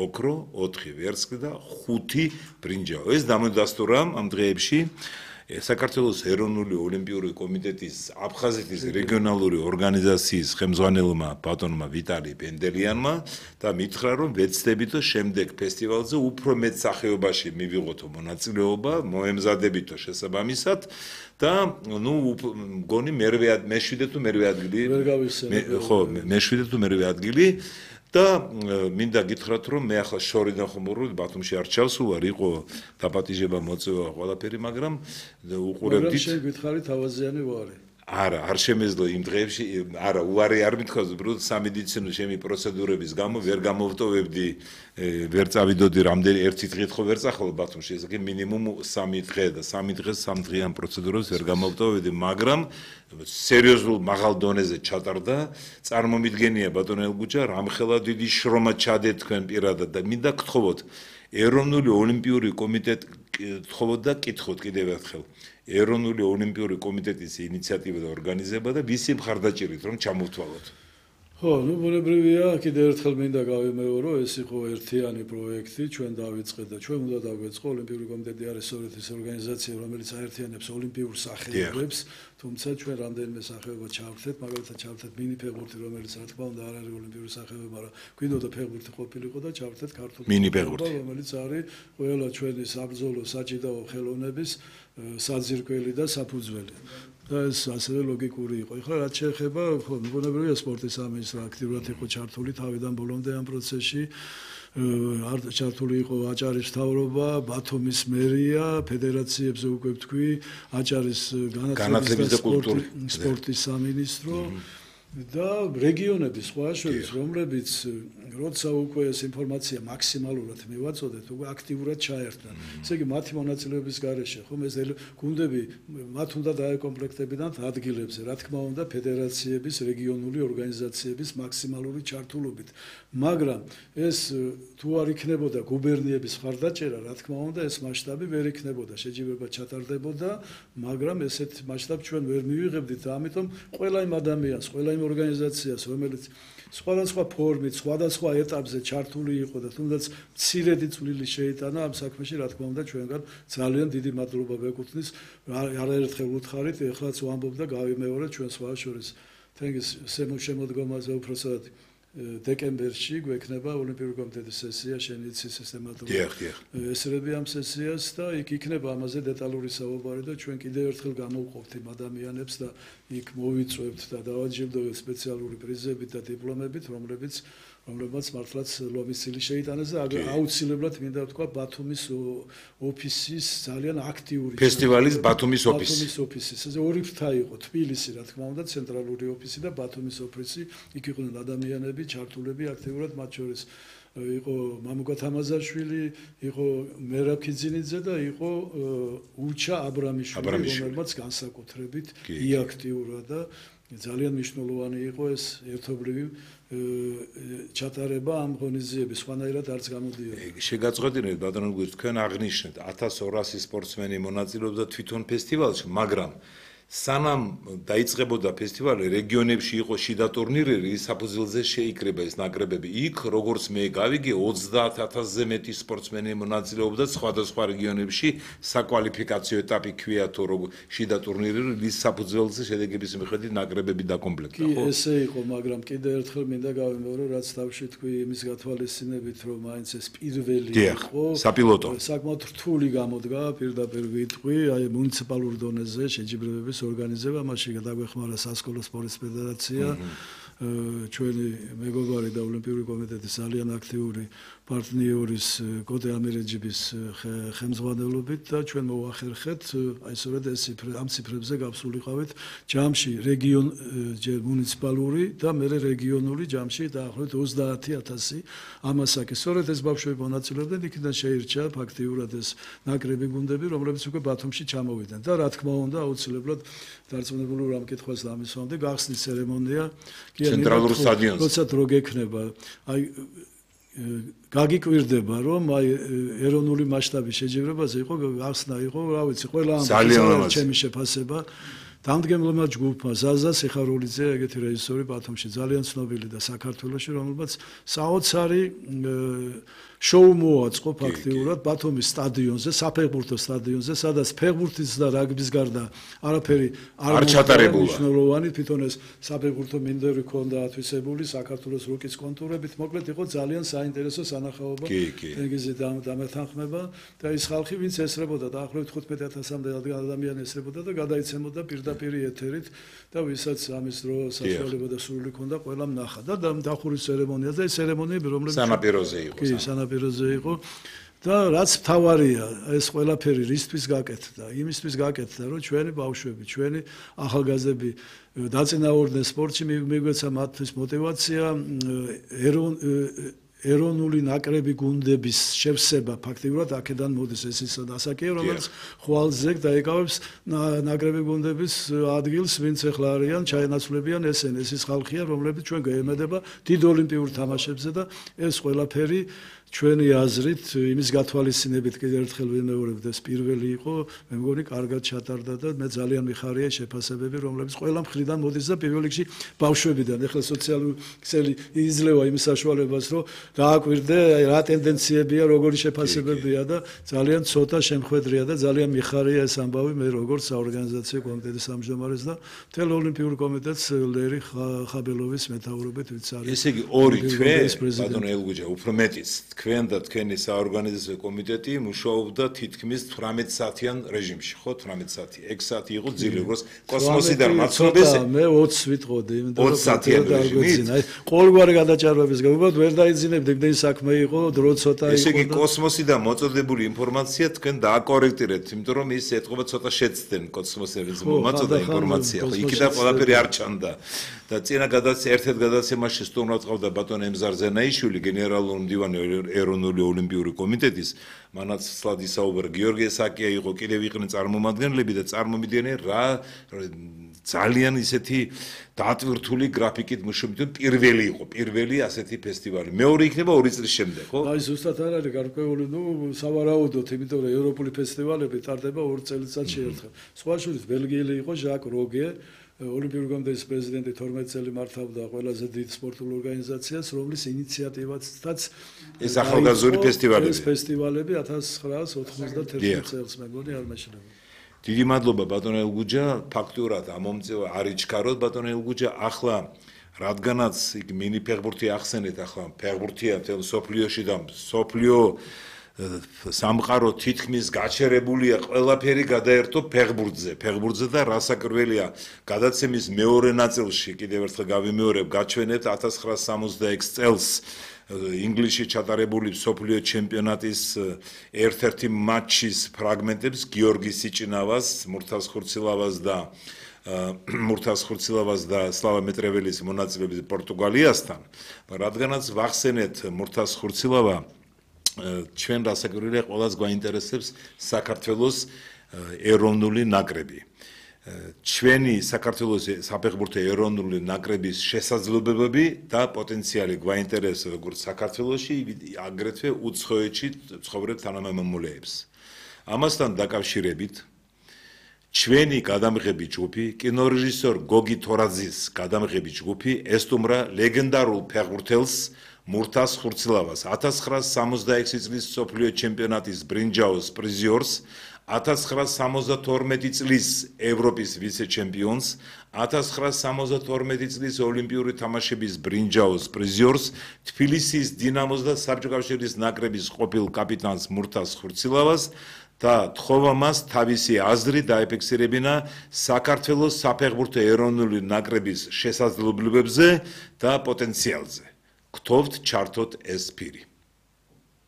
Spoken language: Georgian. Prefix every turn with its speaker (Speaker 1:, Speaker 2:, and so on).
Speaker 1: ოქრო, 4 ვერცხლი და 5 ბრინჯაო. ეს დამონდასტურა ამ დღეებში საქართველოს ეროვნული ოლიმპიური კომიტეტის აფხაზეთის რეგიონალური ორგანიზაციის ხელმძღვანელმა ბატონმა ვიტალი პენდელიანმა და მითხრა რომ ვეცდებითო შემდეგ ფესტივალზე უფრო მეტ სახეობაში მივიღოთო მონაწილეობა, მოემზადებითო შესაბამისად და მგონი მე-7 თუ მე-8 ადგილი ხო მე-7 თუ მე-8 ადგილი და მინდა გითხრათ რომ მე ახლა შორიდან ხომ ვარ ბათუმში არ ჩავსულარ იყო დაპატიჟება მოწევა ყველაფერი მაგრამ უყურებდით
Speaker 2: მაგრამ შენ გითხარი თავაზიანი ვარი
Speaker 1: არა არ შემეძლო იმ დღეებში არა უარი არ მithქვას უბრალოდ სამედიცინო ჩემი პროცედურების გამო ვერ გამოვტოვებდი ვერ წავიდოდი რამდენი ერთი დღით ხო ვერ წახვალ ბათუმში ეს კი მინიმუმ 3 დღე და 3 დღეს 3 დღიან პროცედურებს ვერ გამოვტოვებდი მაგრამ სერიოზულ მაღალ დონეზე ჩატარდა წარმომიდგენია ბატონო ელგუჯა რამხელა დიდი შრომა ჩადეთ თქვენ პირადად და მინდა გთხოვოთ ეროვნული ოლიმპიური კომიტეტი გთხოვოთ და კითხოთ კიდევ ერთხელ ეროვნული ოლიმპიური კომიტეტის ინიციატივა და ორგანიზება და ვისი მხარდაჭერით რომ ჩამოვთვალოთ
Speaker 2: ხო, ბუნებრივია, კიდევ ერთხელ მინდა გავიმეორო, ეს იყო ერთიანი პროექტი, ჩვენ დავიწყეთ და ჩვენ უნდა დავიწყო ოლიმპიური კომიტეტი არის სწორედ ეს ორგანიზაცია, რომელიც აერთიანებს ოლიმპიურ სახეობებს, თუმცა ჩვენ რამდენიმე სახეობა ჩავერთეთ, მაგალითად ჩავერთეთ მინი ფეხბურთი, რომელიც რა თქმა უნდა არ არის ოლიმპიური სახეობა, მაგრამ გვინდოდა ფეხბურთი ყოფილიყო და ჩავერთეთ ქართული
Speaker 1: მინი ფეხბურთი,
Speaker 2: რომელიც არის ყველა ჩვენი საბრძოლო საჭიდაო ხელოვნების საძირკველი და საფუძველი. და ეს ასევე ლოგიკური იყო. ეხლა რაც შეეხება, ხო, მიგონებრივია სპორტის სამინისტრო აქტიურად იყო ჩართული თავიდან ბოლომდე ამ პროცესში. ჩართული იყო აჭარის მთავრობა, ბათუმის მერია, ფედერაციებზე უკვე ვთქვი, აჭარის განათლების და სპორტის სამინისტრო და რეგიონების სხვა შორის, რომლებიც როცა უკვე ეს ინფორმაცია მაქსიმალურად მივაწოდეთ, უკვე აქტიურად ჩაერთდნენ. ესე იგი, მათი მონაწილეობის გარეშე, ხომ ეს გუნდები მათ უნდა დაეკომპლექტებინათ ადგილებზე, რა თქმა უნდა, ფედერაციების, რეგიონული ორგანიზაციების მაქსიმალური ჩართულობით. მაგრამ ეს თუ არ იქნებოდა გუბერნიების მხარდაჭერა, რა თქმა უნდა, ეს მასშტაბი ვერ იქნებოდა, შეჯიბრება ჩატარდებოდა, მაგრამ ესეთ მასშტაბს ჩვენ ვერ მივიღებდით და ამიტომ ყველა იმ ადამიანს, ყველა იმ ორგანიზაციას, რომელიც სხვადასხვა ფორმით, სხვადასხვა ეტაპზე ჩართული იყო და თუნდაც მცირედი წვლილი შეიტანა ამ საქმეში, რა თქმა უნდა, ჩვენგან ძალიან დიდი მადლობა ვეკუთვნის. არაერთხელ უთხარით, ეხლაც ვამბობ და გავიმეორე ჩვენ სხვა შორის თენგის შემოდგომაზე უпроსად დეკემბერში გვექნება ოლიმპიური კომიტეტის სესია, შენ იცი სისტემატურად. ესრები ამ სესიას და იქ იქნება ამაზე დეტალური საუბარი და ჩვენ კიდევ ერთხელ გამოვყოფთ იმ ადამიანებს და იქ მოვიწვევთ და დავაჯილდოვებთ სპეციალური პრიზებით და დიპლომებით, რომლებმაც მართლაც ლომისილი შეიტანეს და აუცილებლად მინდა ვთქვა ბათუმის ოფისის ძალიან აქტიური
Speaker 1: ფესტივალის ბათუმის ოფისი.
Speaker 2: ეს ორი ფრთა იყო, თბილისი, რა თქმა უნდა, ცენტრალური ოფისი და ბათუმის ოფისი. იქ იყვნენ ადამიანები, ჩართულები აქტიურად, მათ შორის იყო მამუკა თამაზაშვილი, იყო მერაბქიძინიძე და იყო უჩა აბრამიშვილი, რომელმაც განსაკუთრებით იაქტიურა და ძალიან მნიშვნელოვანი იყო ეს ერთობლივი ჩატარება ამ ღონისძიების, სხვანაირად არც გამოდიოდა.
Speaker 1: შეგაწყვეტინეთ ბატონო გუძ, თქვენ აღნიშნეთ 1200 სპორტსმენი მონაწილეობდა თვითონ ფესტივალში, მაგრამ სანამ დაიწყებოდა ფესტივალი, რეგიონებში იყო შიდა ტურნირები, საფუძველზე შეიკრება ეს ნაკრებები. იქ, როგორც მე გავიგე, 30000-ზე მეტი სპორტსმენი მონაწილეობდა სხვადასხვა რეგიონებში, საკვალიფიკაციო ეტაპი ქვია თუ შიდა ტურნირები, რის საფუძველზე შედეგების მიხედვით ნაკრებები დაკომპლექტდა, ხო?
Speaker 2: ესე იყო, მაგრამ კიდევ ერთხელ მინდა გავიმეორო, რაც თავში თქვი იმის გათვალისწინებით, რომ მაინც ეს პირველი იყო,
Speaker 1: საპილოტო.
Speaker 2: საკმაოდ რთული გამოდგა, პირდაპირ ვიტყვი, აი მუნიციპალურ დონეზე შეჯიბრებების ორგანიზება, მასში დაგვეხმარა სასკოლო სპორტის ფედერაცია, ჩვენი მეგობარი და ოლიმპიური კომიტეტის ძალიან აქტიური პარტნიორის კოტე ამირეჯიბის ხელმძღვანელობით და ჩვენ მოვახერხეთ, აი სწორედ ამ ციფრებზე გავსულიყავით ჯამში მუნიციპალური და მერე რეგიონული ჯამში დაახლოებით 30000 ამასაკი. სწორედ ეს ბავშვები მონაწილეობდნენ, იქიდან შეირჩა ფაქტიურად ეს ნაკრები გუნდები, რომლებიც უკვე ბათუმში ჩამოვიდნენ და რა თქმა უნდა, აუცილებლად დარწმუნებული ამ კითხვას დამისვამდი, გახსნის ცერემონია
Speaker 1: ცენტრალურ სტადიონზე.
Speaker 2: როცა დრო გექნება, აი გაგიკვირდება, რომ აი ეროვნული მასშტაბის შეჯიბრებაზე იყო გახსნა იყო, რა ვიცი, ყველა ამ ჩემი შეფასება დამდგმელმა ჯგუფმა ზაზა სიხარულიძე, ეგეთი რეჟისორი ბათუმში ძალიან ცნობილი და საქართველოში, რომელმაც საოცარი შოუ მოაწყო ფაქტიურად ბათუმის სტადიონზე, საფეხბურთო სტადიონზე, სადაც ფეხბურთის და რაგბის გარდა არაფერი არ ჩატარებულა. მნიშვნელოვანი თვითონ ეს საფეხბურთო მინდვრი ქონდა ათვისებული საქართველოს რუკის კონტურებით, მოკლედ იყო ძალიან საინტერესო სანახაობა, თენგიზი დამეთანხმება და ის ხალხი, ვინც ესრებოდა დაახლოებით 15,000-მდე ადამიანი ესრებოდა და გადაიცემოდა პირდაპირ ეთერით და ვისაც ამის დრო საშუალება და სურვილი ქონდა, ყველამ ნახა და დახურის ცერემონია და ეს ცერემონიები რომლებიც
Speaker 1: სანაპიროზე იყო.
Speaker 2: კი, სანაპიროზე იყო. და რაც თავარია, ეს ყველაფერი რისთვის გაკეთდა? იმისთვის გაკეთდა, რომ ჩვენი ბავშვები, ჩვენი ახალგაზრდები დაწინაურდნენ სპორტში, მიგვეცა მათთვის мотиваცია, ეროვნული ნაკრები გუნდების შევსება ფაქტიურად აქედან მოდის ეს ის ასაკია, რომელიც ხვალზე დაიკავებს ნაკრები გუნდების ადგილს, ვინც ახლა არიან, ჩაენაცვლებიან ესენი, ეს ის ხალხია, რომლებიც ჩვენ გაემედება დიდ ოლიმპიურ თამაშებზე და ეს ყველაფერი ჩვენი აზრით იმის გათვალისწინებით კიდევ ერთხელ ვიმეორებ და ეს პირველი იყო, მე მგონი კარგად ჩატარდა და მე ძალიან მიხარია შეფასებები, რომლებიც ყველა მხრიდან მოდის და პირველ რიგში ბავშვებიდან. ეხლა სოციალური ქსელი იძლევა იმ საშუალებას, რომ დააკვირდე რა ტენდენციებია, როგორი შეფასებებია და ძალიან ცოტა შემხედრია და ძალიან მიხარია ეს ამბავი მე როგორც საორგანიზაციო კომიტეტის თავმჯდომარეს და მთელ ოლიმპიურ კომიტეტს ლერი ხაბელოვის მეთაურობით ვიც არის.
Speaker 1: ესე იგი ორი თვე ბატონო ელგუჯა უფრო მეტიც თქვენ და თქვენი საორგანიზაციო კომიტეტი მუშაობდა თითქმის 18 საათიან რეჟიმში, ხო? 18 საათი, 6 საათი იყო ძილი, როგორც კოსმოსიდან მაცნობეს.
Speaker 2: მე 20 ვიტყოდი, იმიტომ რომ
Speaker 1: 20 საათიან რეჟიმით.
Speaker 2: ყოველგვარი გადაჭარბების გამო ვერ დაიძინებდი, იმდენი საქმე იყო, დრო ცოტა იყო.
Speaker 1: ესე იგი კოსმოსიდან მოწოდებული ინფორმაცია თქვენ დააკორექტირებთ, იმიტომ რომ ის ეთყობა ცოტა შეცდნენ კოსმოსერის მომაწოდა ინფორმაცია, ხო? იქიდან ყველაფერი არ ჩანდა. და წინა ერთ-ერთ გადაცემაში სტუმრად ყავდა ბატონ ემზარ ზენაიშვილი, გენერალური მდივანი ეროვნული ოლიმპიური კომიტეტის, მანაც სლად ისაუბრა გიორგი ესაკია იყო, კიდევ იყვნენ წარმომადგენლები და წარმომიდგნენ რა ძალიან ისეთი დატვირთული გრაფიკით მუშაობდნენ, პირველი იყო, პირველი ასეთი ფესტივალი. მეორე იქნება 2 წლის შემდეგ, ხო?
Speaker 2: აი ზუსტად არ არის გარკვეული, სავარაუდოდ, იმიტომ რომ ევროპული ფესტივალები ტარდება 2 წელიწადში ერთხელ. სხვა შორის ბელგიელი იყო ჟაკ როგე, ოლიმპიური კომიტეტის პრეზიდენტი 12 წელი მართავდა ყველაზე დიდ სპორტულ ორგანიზაციას, რომლის ინიციატივათაც
Speaker 1: ეს ახალგაზრდული ფესტივალები.
Speaker 2: ეს ფესტივალები 1991 წელს მე მგონი არ მეშინებოდა.
Speaker 1: დიდი მადლობა ბატონო ელგუჯა, ფაქტურად ამომწევა არ იჩქაროთ ბატონო ელგუჯა, ახლა რადგანაც იქ მინი ფეხბურთი ახსენეთ, ახლა ფეხბურთია მთელ სოფლიოში და სოფლიო სამყარო თითქმის გაჩერებულია, ყველაფერი გადაერთო ფეხბურთზე და რასაკვირველია, გადაცემის მეორე ნაწილში კიდევ ერთხელ გავიმეორებ, გაჩვენებთ 1966 წელს ინგლისში ჩატარებული მსოფლიო ჩემპიონატის ერთ-ერთი მატჩის ფრაგმენტებს, გიორგი სიჭინავას, მურთაზ ხურცილავას და სლავა მეტრეველის მონაწილეობის პორტუგალიასთან, რადგანაც ვახსენეთ მურთაზ ხურცილავა ჩვენ რასაკვირველია ყველას გვაინტერესებს საქართველოს ეროვნული ნაკრები. ჩვენი საქართველოს საფეხბურთო ეროვნული ნაკრების შესაძლებლობები და პოტენციალი გვაინტერესებს როგორც საქართველოში, აგრეთვე უცხოეთში ცხოვრებ თანამემამულეებს. ამასთან დაკავშირებით ჩვენი გადამღები ჯგუფი, კინორეჟისორ გოგი თორაძის გადამღები ჯგუფი ესტუმრა ლეგენდარულ ფეხბურთელს მურთაზ ხურცილავას 1966 წლის მსოფლიო ჩემპიონატის ბრინჯაოს პრიზიორს, 1972 წლის ევროპის ვიცე-ჩემპიონს, 1972 წლის ოლიმპიური თამაშების ბრინჯაოს პრიზიორს, თბილისის დინამოს და საბჭოთა კავშირის ნაკრების ყოფილ კაპიტანს მურთაზ ხურცილავას და თხოვა მას თავისი აზრი დაეფიქსირებინა საქართველოს საფეხბურთო ეროვნული ნაკრების შესაძლებლობებზე და პოტენციალზე. გთხოვთ ჩართოთ ეს ფირი.